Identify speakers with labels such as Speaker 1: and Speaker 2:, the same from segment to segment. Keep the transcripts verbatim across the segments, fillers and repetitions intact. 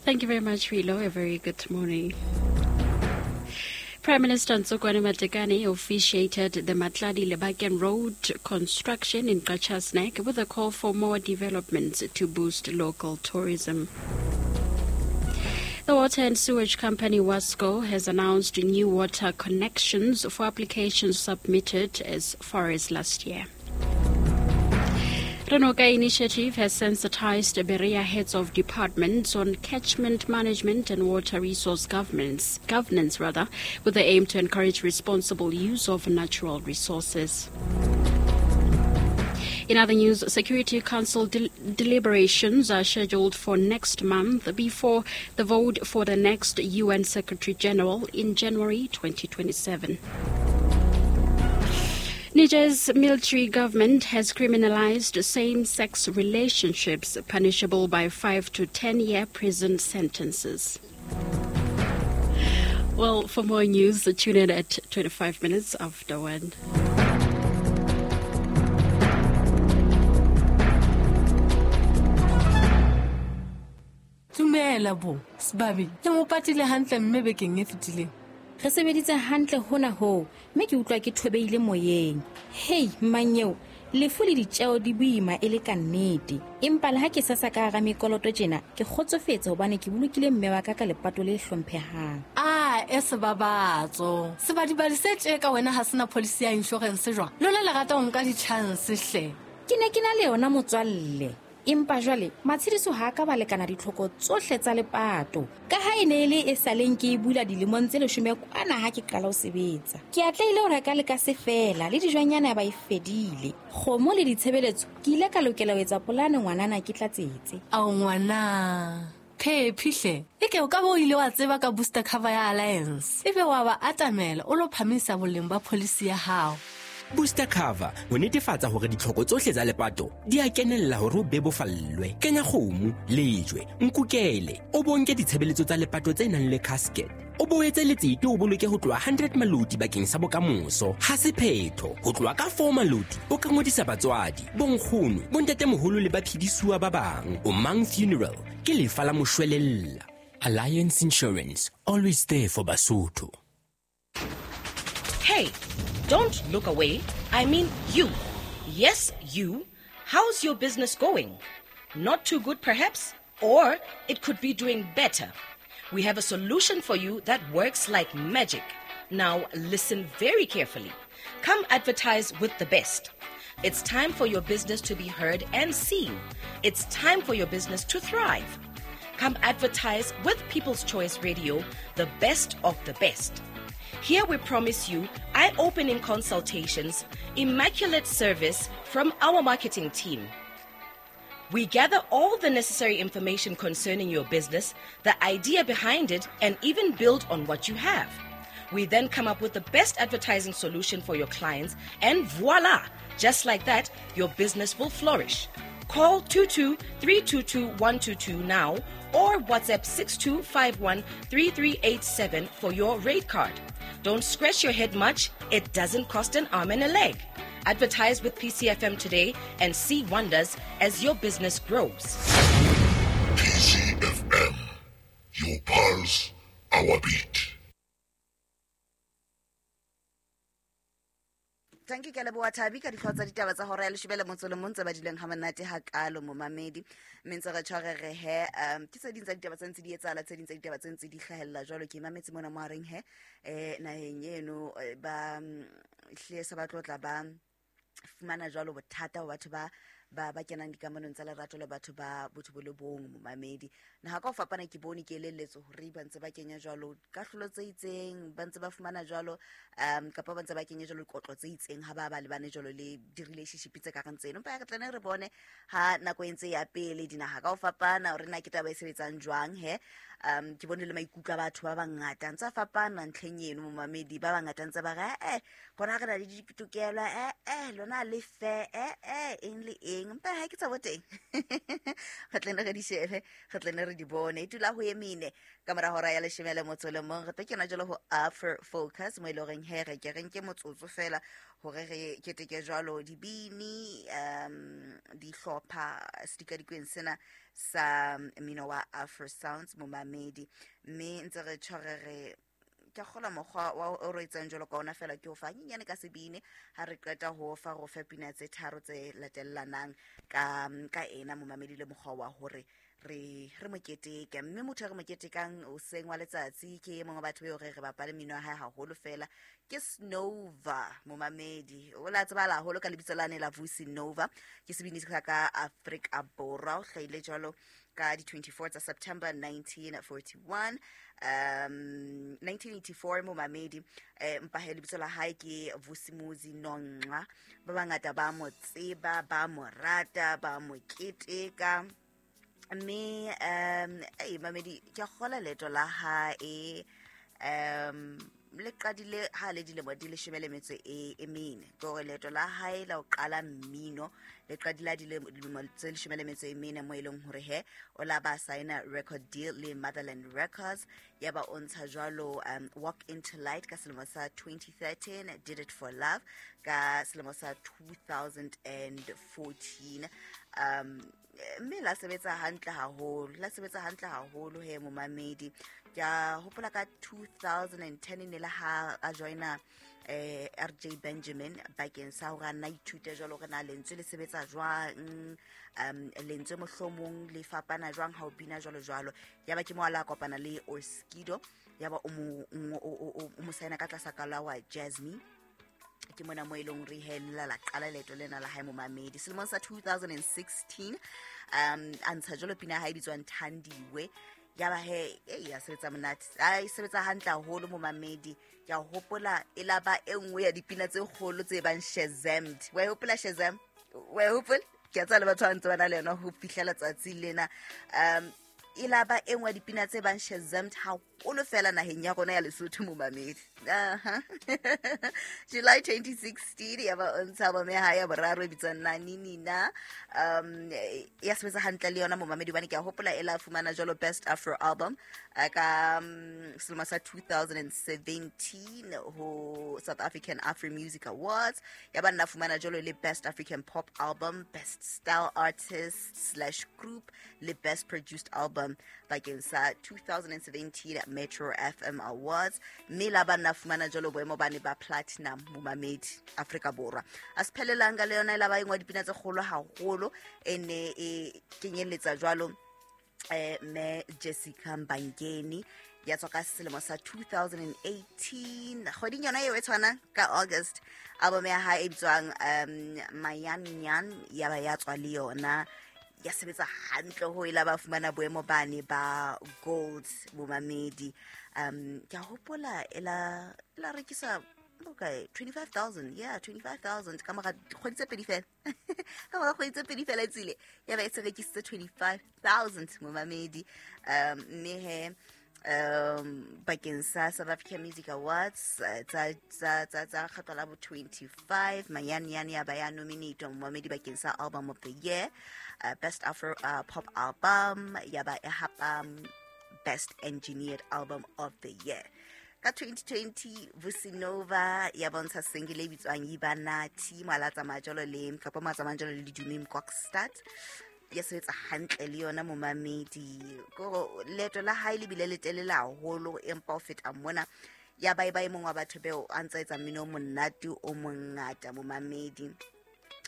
Speaker 1: Thank you very much, Rilo. A very good morning. Prime Minister Ntsokoane Matekane officiated the Matladi Lebaken Road construction in Qacha's Nek with a call for more developments to boost local tourism. The water and sewage company WASCO has announced new water connections for applications submitted as far as last year. Renoka Initiative has sensitized Berea heads of departments on catchment management and water resource governance, governance rather, with the aim to encourage responsible use of natural resources. In other news, Security Council del- deliberations are scheduled for next month before the vote for the next U N Secretary General in January twenty twenty-seven. Niger's military government has criminalized same-sex relationships, punishable by five to ten-year prison sentences. Well, for more news, tune in at twenty-five minutes after one.
Speaker 2: Dumela bo, Sbabi, le mo patile hantle mme bekeng e fetileng.
Speaker 3: Re sebeditse hantle hona ho, mme ke utlwa ke thobeile moyeng. Hei, mmanyeo, lefu le ditjeo di boima e le ka nnete. Empa le ha ke sasa ka hara mekoloto tjena, ke kgotsofetse hobane ke bolokile mme wa ka ka lepato le hlomphehang.
Speaker 2: Ah, e sebabatso. Sebadibadi se tje ka wena ha sena policy ya insurance jwang? Lona le rata ho nka di-chance hle.
Speaker 3: Ke ne ke na le yona motswalle. Empa jwale matshediso ha ka ba lekana ditlhoko tsohle tsa lepato. Ka ha e ne e le e saleng ke e bula dilemong tse leshome kwana ha ke qala ho sebetsa. Ke atlehile ho reka le ka se fela le dijwanyana ba e fedile. Kgomo le ditshebeletso ke ile ka lokela ho etsa polane ngwanana ke tlatsetse.
Speaker 2: Ao ngwana. Phephi hle. Eke o ka bo ile wa tseba ka booster cover ya Alliance. Ebe wa ba atamela o lo phamisa boleng ba policy ya hao.
Speaker 4: Booster cover ho netefatsa hore ditlhoko tsohle tsa lepato di a kenella hore o bebofallwe. Kenya kgomo, lejwe, nkukele, o bonke ditshebeletso tsa lepato tse nang le casket. O boetse letsete o boloke ho tloha hundred maloti bakeng sa bokamoso. Ha se phetho, ho tloha ka four maloti o ka ngodisa batswadi, bonkgono, bontatemoholo le baphedisuwa ba bang. O Mang Funeral ke lefa la moshwelella. Alliance Insurance, always there for Basotho.
Speaker 5: Hey, don't look away. I mean you. Yes, you. How's your business going? Not too good, perhaps? Or it could be doing better. We have a solution for you that works like magic. Now, listen very carefully. Come advertise with the best. It's time for your business to be heard and seen. It's time for your business to thrive. Come advertise with People's Choice Radio, the best of the best. Here we promise you eye-opening consultations, immaculate service from our marketing team. We gather all the necessary information concerning your business, the idea behind it, and even build on what you have. We then come up with the best advertising solution for your clients, and voila! Just like that, your business will flourish. Call two two three two two one two two now or WhatsApp six two five one three three eight seven for your rate card. Don't scratch your head much. It doesn't cost an arm and a leg. Advertise with P C F M today and see wonders as your business grows.
Speaker 6: P C F M, your pulse, our beat.
Speaker 7: Thank you, ke leboha Thabi ka dihlooho tsa ditaba tsa hora ya leshome le motso le mong tse badileng ha monate hakalo momamedi. Mme ntse re tshware re he, um ke tse ding tsa ditaba tse ntse di etsahala, tse ding tsa ditaba tse ntse di hlahella jwalo. Ke mametse mona mo hareng he, eh naheng eno ba hle se ba tlotla ba fumana jwalo bothata ho batho ba ba ba kenang dikamanong tsa lerato le batho ba botho bo le bong momamedi. Naha ka ho fapana ke bone ke elelletswe hore ba ntse ba kenya jwalo kahlolo tse itseng, ba ntse ba fumana jwalo um kapa ba ntse ba kenya jwalo dikotlo tse itseng ha ba ba lebane jwalo le di-relationship tse ka reng tseno. Empa ya re tlane re bone ha nako e ntse ya pele dinaha ka ho fapana hore na ke taba e sebetsang jwang he. Um ke bone le maikutlo a batho ba bangata ntse a fapana ntlheng eno momamedi. Ba bangata ntse ba re eh bona re na le ditokelo, eh eh lona le fair, eh eh eng le eng. teng empa ha ke tsa bo teng re tle ne re di shebe re tle ne re di bone e dula ho emine ka mora hora ya leshome le motso le mong re tlo kena jwalo ho Afro Focus mo e leng horeng he re ke re nke motsotso fela hore re keteke jwalo dibini um dihlopha sedikadikweng sena sa mmino wa Afro Sounds momamedi mme ntse re tshware re ke kgola mokgwa wa o re etsang jwalo ka ona fela ke o fa nyenyane ka sebini ha re qeta ho fa go fe pina tse tharo tse latellanang ka ka ena momamedi le mokgwa wa hore re re moketeke mme motho re moketekang o seng wa letsatsi ke e mongwe wa batho beo re re bapale mmino wa hae haholo fela ke Snova momamedi o la tsebala haholo ka lebitso lane la Vusi Nova ke sebini sa ka Afrika Borwa o hlahile jwalo ka di twenty-four tsa September nineteen forty-one um nineteen eighty-four momamedi eh mpa he lebitso la hae ke Vusimuzi Nonqa ba bangata ba mo tseba ba mo rata ba mo keteka mme um ei mamedi ke kgola leeto la hae um le qadile ha le dilemo di leshome le metso e e mene ke hore leeto la hae la ho qala mmino le qadile dilemo tse leshome le metso e mene mo e leng hore he o la ba signa record deal le Motherland Records ya ba o ntsha jwalo um Walk Into Light ka selemo sa twenty thirteen Did It For Love ka selemo sa two thousand fourteen um mme la sebetsa hantle haholo la sebetsa hantle haholo he momamedi ke a hopola ka two thousand ten ne la ha a joina eh R J Benjamin bakeng sa hore a nna ithute jwalo hore na lentswe le sebetsa jwang um lentswe mohlomong le fapana jwang ha o bina jwalo jwalo ya ba ke mo ala kopana le Oskido ya ba o mo o mo saena ka tlasa ka la wa Jasmine ke mona mo e leng re hella la qala leeto lena la hae momamedi selemong sa two thousand sixteen um a ntsha jwalo pina ya hae bitswang Thandiwe ya ba he e ya sebetsa monate a e sebetsa hantle haholo momamedi ke a hopola e la ba e nngwe ya dipina tse kgolo tse bang Shazammed wa e hopola Shazam wa e hopola ke a tseba le batho ba ntse ba na le yona ho fihlela tsatsi lena um e la ba e nngwe ya dipina tse bang Shazammed haholo fela naheng ya rona ya Lesotho momamedi aha July twenty sixteen ya ba o ntsha album ya hae ya boraro e bitswang Nani Nina um ya sebetsa hantle le yona momamedi hobane ke a hopola e la fumana jwalo Best Afro Album ka um, selemo sa two thousand seventeen ho South African Afro Music Awards ya ba nna fumana jwalo le Best African Pop Album Best Style Artist slash Group le Best Produced Album bakeng sa two thousand seventeen Metro F M Awards mme la ba nna fumana jwalo boemo ba ne ba platinum momamedi Afrika Borwa a se phelelanga le yona e la ba engwe dipina tse kgolo haholo e ne e kenyelletsa jwalo eh me Jessica Mbangeni ya tswa ka selemo sa two thousand eighteen kgweding yona eo e tshwana ka August album ya hae e bitswang um Mayanyan ya ba ya tswa le yona ya sebetsa hantle ho ila ba fumana boemo bane ba gold momamedi um ke a hopola ela la rekisa okay twenty-five thousand yeah twenty-five thousand ka mora kgwedi tse pedi fela ka mora kgwedi tse pedi fela e tsile ya ba e se rekisitse twenty-five thousand momamedi um mme he um bakeng sa South African Music Awards tsa tsa tsa tsa kgetho la bo twenty-five Mayanyan ya ba ya nominate momamedi bakeng sa Album of the Year uh, Best Afro uh, Pop Album ya ba e hapa Best Engineered Album of the Year ka twenty twenty Vusi Nova ya bontsha single e bitswang Ibanati mola tsamaya jwalo le kapa mo tsamaya jwalo le Dumi Mkokstad ya sebetsa hantle le yona momamedi ko leeto la hae le bile le telele haholo empa ho feta mona ya ba e ba e mongwe wa batho beo a ntsa etsa mmino o monate o mongata momamedi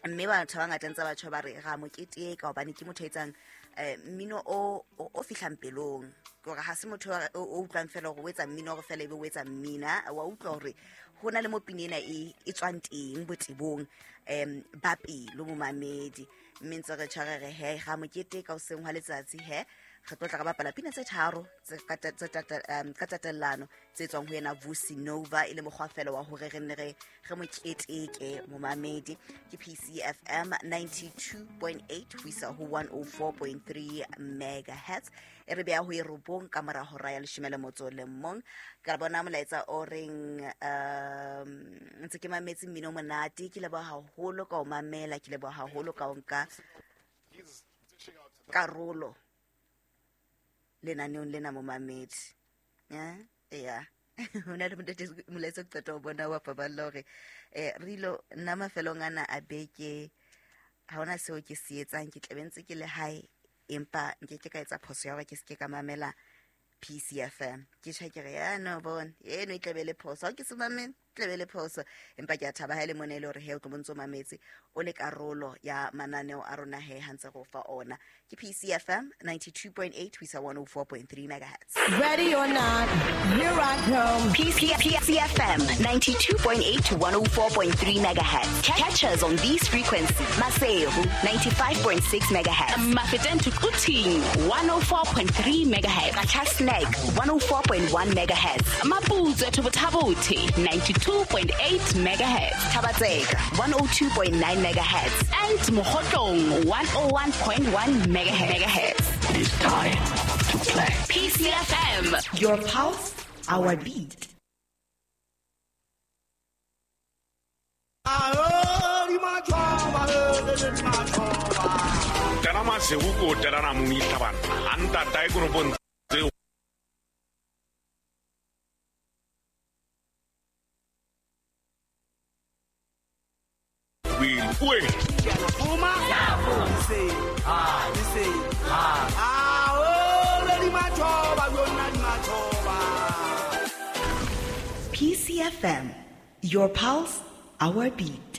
Speaker 7: mme batho ba bangata ntse batho ba re ra mo keteka hobane ke motho a etsang eh mmino o o fihlang pelong ke hore ha se motho o utlwang fela hore o etsa mmino hore fela ebe o etsa mmina wa utlwa hore ho na le mo pina ena e e tswang teng botebong um ba pelo momamedi mme ntse re tshware re he ga mo keteka o seng hwa letsatsi he re tlo tla re bapala pina tse tharo tse ka tatellano tse tswang ho yena Vusi Nova e le mokgwa fela wa hore re nne re re mo keteke momamedi ke P C F M ninety-two point eight ho isa ho one oh four point three megahertz e re beha ho e robong robong ka mora hora ya leshome le motso le mong. Ka bona molaetsa o reng um ntse ke mametse mmino monate, ke leboha haholo ka o mamela, ke leboha haholo ka o nka karolo lenaneong lena momamedi. Ya ya hona le montate molaetsa ke qeta ho bona wa paballo hore eh rilo nna mafelong ana a beke ha hona seo ke se etsang, ke tlabe ntse ke le hae empa nke ke ka etsa phoso ya hore ke se ke ka mamela P C F M. Ke tjha ke re ya no bona eno e tlabe le phoso, ha ke se mamele tlabe le phoso, empa ke a thaba ha ile mona ile hore he o tlo bontso mametse o le karolo ya mananeo a rona he ha ntse go fa ona. Ke P C F M ninety-two point eight ho isa one oh four point three megahertz.
Speaker 8: Ready or not, here I come.
Speaker 9: P C F M ninety-two point eight to one oh four point three megahertz. Catch us on these frequencies. Maseru ninety-five point six megahertz.
Speaker 10: Mafeteng to Quthing one oh four point three megahertz.
Speaker 9: Qacha's Nek one oh four point one megahertz.
Speaker 10: Maputswe to Botha-Bothe ninety-two point eight megahertz.
Speaker 9: Thaba-Tseka one oh two point nine megahertz.
Speaker 10: And Mokhotlong one oh one point one megahertz.
Speaker 11: It is time to play.
Speaker 10: P C F M.
Speaker 5: Your pulse, our beat. P C F M, your pulse, our beat.